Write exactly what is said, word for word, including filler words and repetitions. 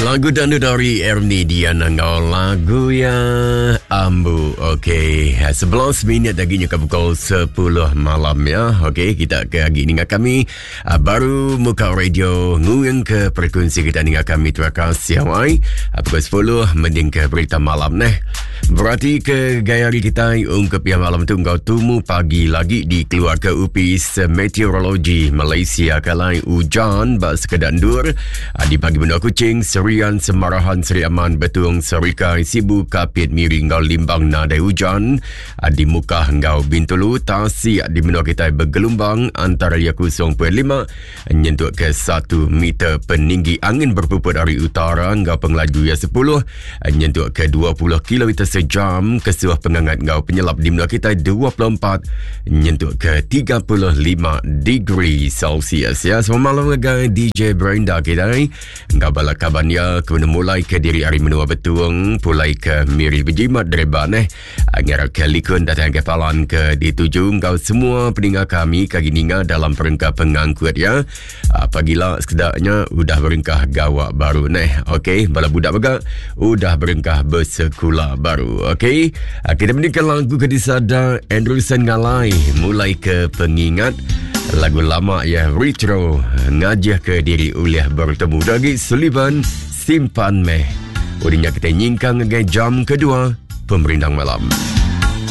Lagu danu dari Ernie Diana ngau lagu ya Ambu. Okey, sebelas minit lagi nyuka pukul sepuluh malam ya. Okey, kita ke lagi ninga kami baru muka radio nguing ke frekuensi kita ninga kami. Terima kasih awai. Pukul sepuluh mending ke berita malam neh. Berarti ke gaya hari kita ungkap yang malam tu ngau tumu pagi lagi di keluarga Upis Meteorologi Malaysia kalai hujan bak sekedar ndur di pagi benua Kuching, Serian, Semarahan, Seri Aman, Betung, Serikai, Sibu, Kapit, Miri ngau Limbang nadai hujan di Mukah ngau Bintulu, Tasik di benua kita bergelombang antara ia kosong perpuluhan lima nyentuk ke satu meter peninggi angin berpuput dari utara ngau pengelaju ia sepuluh nyentuk ke dua puluh kilometer sejam. Kesuah pengangat ngau penyelap di menua kita dua puluh empat nyentuk ke tiga puluh lima degree Celsius ya. Selamat malam dengan D J Brenda kita ni. Ngau bala kaban ya kena mulai ke diri hari menua Betung pulai ke Miri berjimat dereba neh. Ngarap ke likun datang ke palan ke dituju ngau semua pendengar kami kagi ninga dalam perengka pengangkut ya. Pagila sekedaknya udah berengkah gawak baru neh. Okey, bala budak juga udah berengkah bersekolah baru. Okey, kita mendengar lagu ke disada Anderson Ngalai mulai ke pengingat lagu lama ya retro ngajah ke diri uliah bertemu lagi Sullivan simpan meh. Udinya kita nyingkang ke jam kedua pemerindang malam.